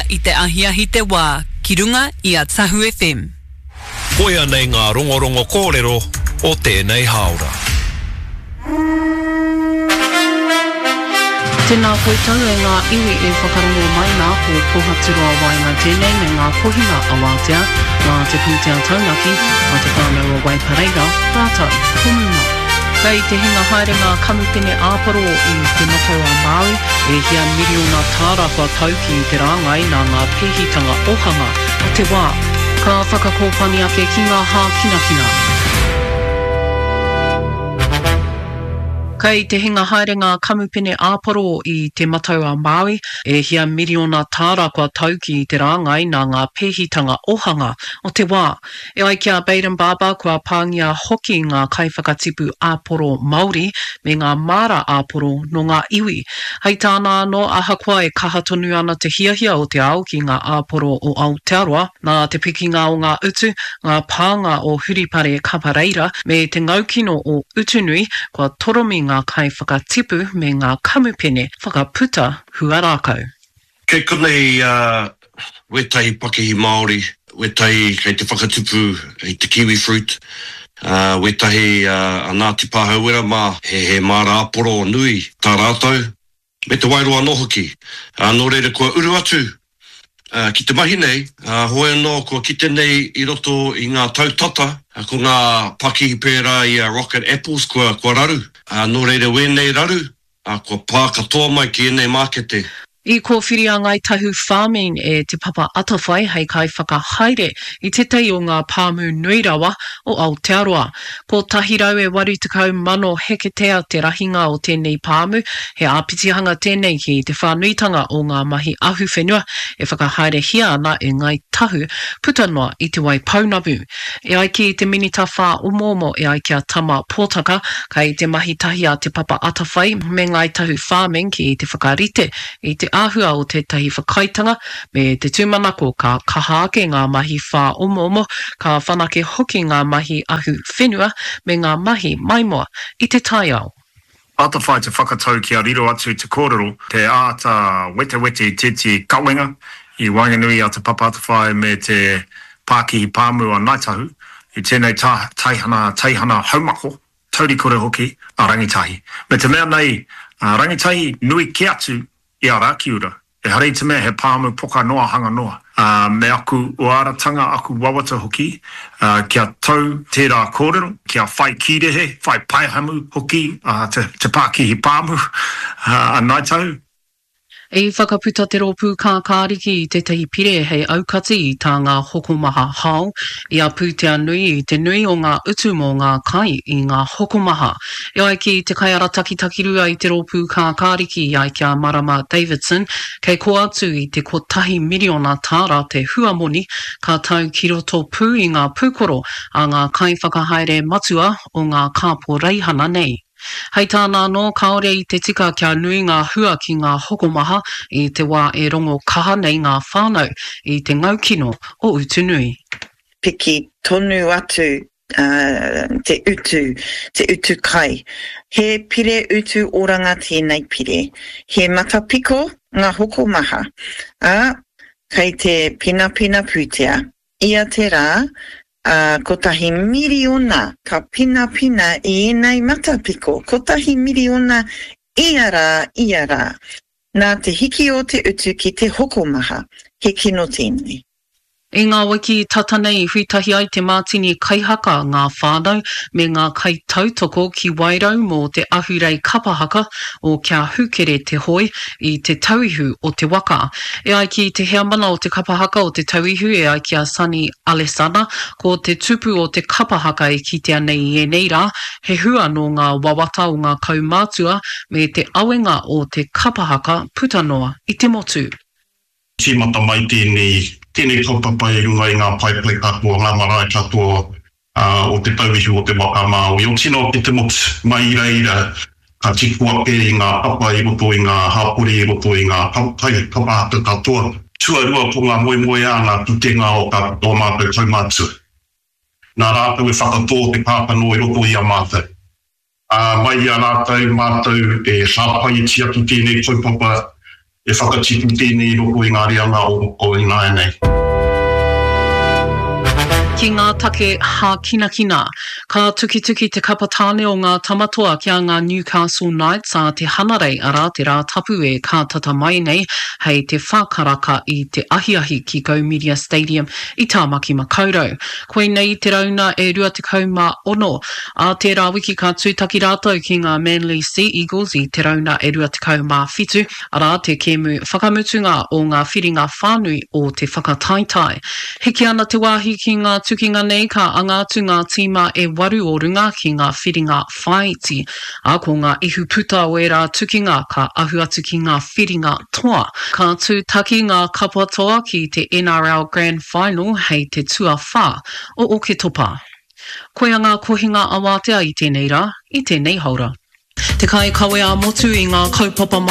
i te ahiahi te wā ki runga i a Tahu FM. Koia nei ngā rongorongo kōrero o tēnei hāora. Tēnā koutou e ngā iwi e whakarongo mai nā, ko Pohaturoa Waenga tēnei me ngā kohinga awatea, nā te pūtea taunaki a Te Whānau o Waipareira rātou ko Muma. Kei te hinga haere ngā kamupene āporo i Te Matau-a-Māui, e hia miriona tāra kua tau ki te rāngai nā ngā pēhitanga ohanga o te wā. Ka whakakōpani ake ki ngā hākinakina. Kei te hinga haere ngā kamupene āporo i Te Matau-a-Māui, e hia miriona tāra kua tau ki te rāngai nā ngā pēhitanga ohanga o te wā. E ai ki a Bayden Barber, kua pāngia hoki ngā kaiwhakatipu āporo Māori me ngā māra āporo nō ngā iwi. Hei tāna anō, ahakoa e kaha tonu ana te hiahia o te ao ki ngā āporo o Aotearoa, nā te pikinga o ngā utu, ngā pānga o Huripare Kapareira me te ngaukino o Utunui, kua toromi ngā kaiwhakatipu me ngā kamupene whakaputa huarākau. Kei konei wētahi pakihi Māori, wētahi kei te whakatupu i te kiwi fruit, wētahi a Ngāti Pāhauwera mā, he māra āporo nui tā rātou, me Te Wairoa anō hoki. Nō reira kua uru atu ki te mahi nei, hoi anō kua kite nei i roto i ngā tau tata, ko ngā pakihi pērā i a Rocket Apples kua raru. Nō reira wēnei raru, ā, kua pā katoa mai ki ēnei mākete. I kōwhiri a Ngāi Tahu Farming e Te Papa Atawhai hei kaiwhakahaere i tētahi o ngā pāmu nui rawa o Aotearoa. 180,000 heketea te rahinga o tēnei pāmu, he āpitihanga tēnei ki te whānuitanga o ngā mahi ahuwhenua e whakahaerehia ana e Ngāi Tahu puta noa i Te Waipounamu. E ai ki te Minita Whāomoomo e ai ki a Tama Potaka, kei te mahi tahi a Te Papa Atawhai me Ngāi Tahu Farming ki te whakarite i te āhua o tētahi whakaaetanga me te tūmanako ka kaha ake ngā mahi whāomoomo, ka whanake hoki ngā mahi ahu whenua me ngā mahi maimoa i te taiao. Atawhai te whakatau kia riro atu te kōrero, te āta wetewete i tētehi kawenga i waenganui i a Te Papa Atawhai me te Pākihi Pāmu a Ngāi Tahu, i tēnei teihana, teihana haumako, taurikore hoki, a Rangitahi. Me te mea nei, a Rangitahi nui kē atu i a Rakiura. Ehara i te mea he pāmu poka noa hanga noa. Ā, me aku uaratanga, aku wawata hoki, ā, kia tau tērā kōrero, kia whai kīrehe, whai paehamu hoki a te, te pākihi pāmu, ā, a Ngāi Tahu. I whakaputa te Rōpū Kākāriki i tētahi pire hei aukati i tā ngā hokomaha hao i a pūtea nui i te nui o ngā utu mō ngā kai i ngā hokomaha. E ai ki te kaiarataki takirua i te Rōpū Kākāriki i ai ki a Marama Davidson, kei kō atu i te kotahi miriona tāra te huamoni ka tau ki roto pū i ngā pūkoro a ngā kaiwhakahaere matua o ngā kāporeihana nei. Hei tāna anō, kāore i te tika kia nui ngā hua ki ngā hokomaha i te wā e rongo kaha nei ngā whānau i te ngaukino o Utunui. Piki tonu atu te utu, te utu kai. He pire utu oranga tēnei pire. He matapiko ngā hokomaha, ā, kei te penapena pūtea. Ia te rā, ā, kotahi miriona ka penapena i ēnei matapiko, kotahi miriona ia rā, ia rā. Nā te hiki o te utu ki te hokomaha, he kino tēnei. I ngā wiki tata nei i huitahi ai te mātini kaihaka, ngā whānau, me ngā kaitautoko ki Wairau mō te ahurei kapa haka o Kia Hūkere Te Hoe i Te Tauihu o te Waka. E ai ki te heamana o te kapa haka o Te Tauihu e ai ki a Sonny Alesana, ko te tupu o te kapa haka e kitea nei i ēnei rā, he hua nō ngā wawata o ngā kaumātua me te awenga o te kapa haka puta noa i te motu. Tīmata mai tēnei, tēnei kaupapa i runga i ngā paepae katoa, ngā marae katoa o Te Tauihu o Te Waka a Māui, o tino o te motu. Mai i reira ka tipu ake i ngā papa i roto i ngā hapori, i roto i ngā kapa haka katoa. Tuarua ko ngā moemoeā, ngā kitenga o tā ō mātou kaumātua. Nā rātou e whakatō te kākano i roto i a mātou. Ā, mai i a rātou mātou e hāpai e tiaki tēnei kaupapa. E whakatipu tēnei i roto i ngā reanga o ināianei. Ki ngā take hākinakina. Ka tukituki te kapa tāne o ngā Tamatoa ki a ngā Newcastle Knights ā te Hanarei, arā, te Rātapu e kātata mai nei hei te wha karaka i te ahiahi ki Go Media Stadium i Tāmaki Makaurau. Koinei te rauna e 26. Ā tērā wiki ka tūtaki rātou ki ngā Manly Sea Eagles i te rauna e 27, arā, te kēmu whakamutunga o ngā whiringa whānui o te whakataetae. Hiki ana te wāhi ki ngā tukinga nei ka anga atu ngā tīma e waru o runga ki ngā whiringa whāiti, ā, ko ngā ihu puta o ērā tukinga ka ahu atu ki ngā whiringa toa. Ka tūtaki ngā kapa toa ki te NRL Grand Final hei te tuawhā o Oketopa. Koia ngā kohinga awātea i tēnei rā, i tēnei haora. Te kaikawe ā-motu i ngā kaupapa.